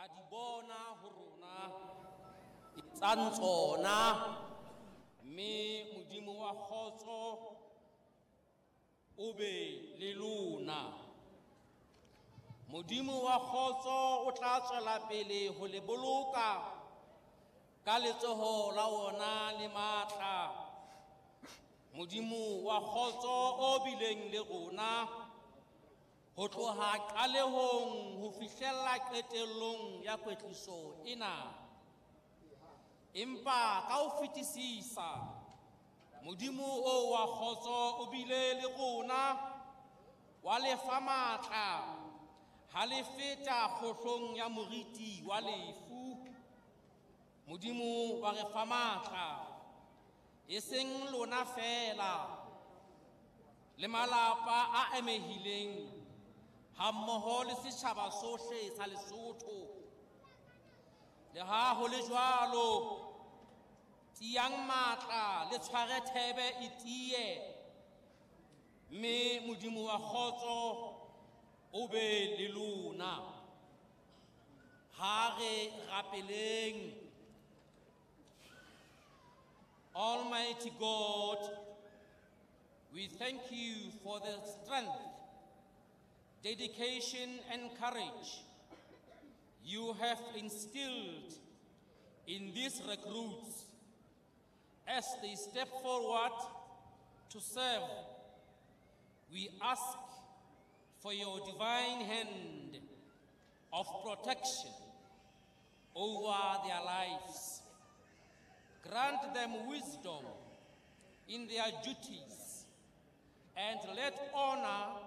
La di bona ho rona, etsang tsona, mme Modimo wa kgotso o be le lona. Modimo wa kgotso o tla tswela pele ho le boloka ka letsoho la wona le matla. Modimo wa kgotso o bileng le rona ho tloha qalehong ho fihlella qetellong ya kwetliso ena. Empa ka ho fetisisa, Modimo o wa kgotso o bile le rona, wa le fa matla ha le feta kgohlong ya moriti wa lefu. Modimo wa re fa matla, e seng lona feela, le malapa a amehileng hammoho le setjhaba sohle sa Lesotho. Le ha ho le jwalo, tiyang matla le tshware thebe e tiye, mme Modimo wa kgotso o be le lona. Ha re rapeleng. Almighty God, we thank you for the strength, dedication, and courage you have instilled in these recruits as they step forward to serve. We ask for your divine hand of protection over their lives. Grant them wisdom in their duties and let honor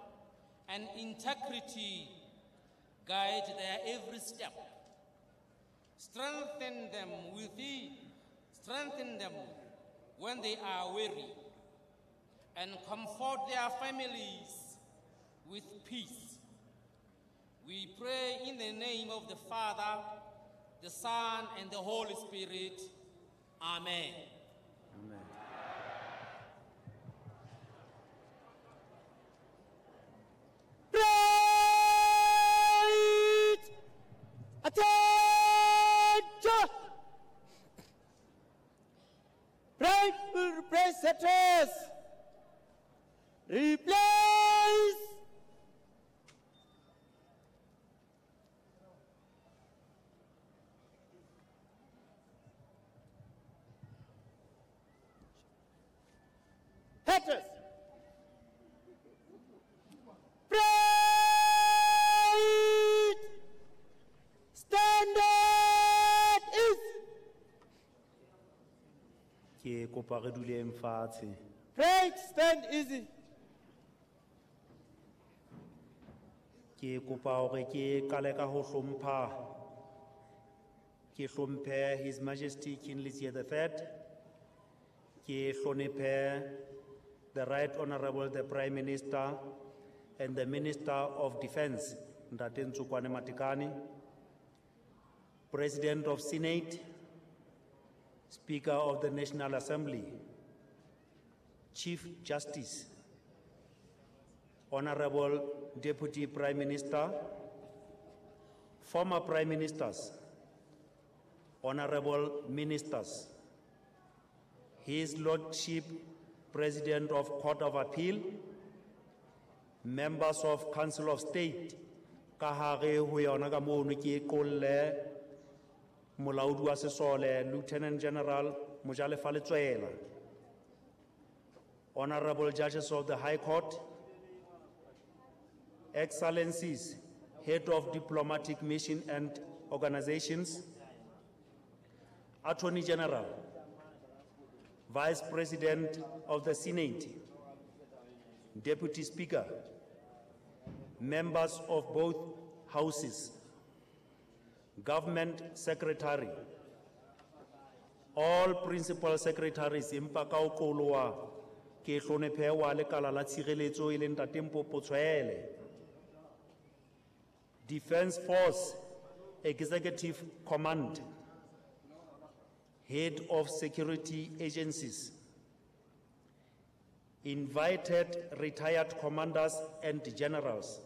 and integrity guide their every step. Strengthen them with thee, strengthen them when they are weary, and comfort their families with peace. We pray in the name of the Father, the Son, and the Holy Spirit. Amen. Amen. Right! Attention! Right, press address. Replace. Headress. Right. Standard is. Ke kopa re duleng fatshe. Right, stand easy. Ke kopa hore ke qale ka ho hlompha. Ke hlomphe His Majesty King Letsie the Third. Ke hlonephe the Right Honorable the Prime Minister and the Minister of Defense, Ntate Ntsokoane Matekane, President of Senate, Speaker of the National Assembly, Chief Justice, Honorable Deputy Prime Minister, former Prime Ministers, Honorable Ministers, His Lordship President of Court of Appeal, members of Council of State, ka hare ho yona ka mono ke qolle molaodi wa sesole Lieutenant General Mojalefa Letsoela, Honorable Judges of the High Court, Excellencies, Head of Diplomatic Mission and Organizations, Attorney General, Vice President of the Senate, Deputy Speaker, members of both houses, Government Secretary, all principal secretaries, empa ka ho qoloa ke hlonephe wa lekala la tshireletso e leng Ntate Mpopo Tshwele, Defense Force Executive Command, Head of Security Agencies, invited retired commanders and generals,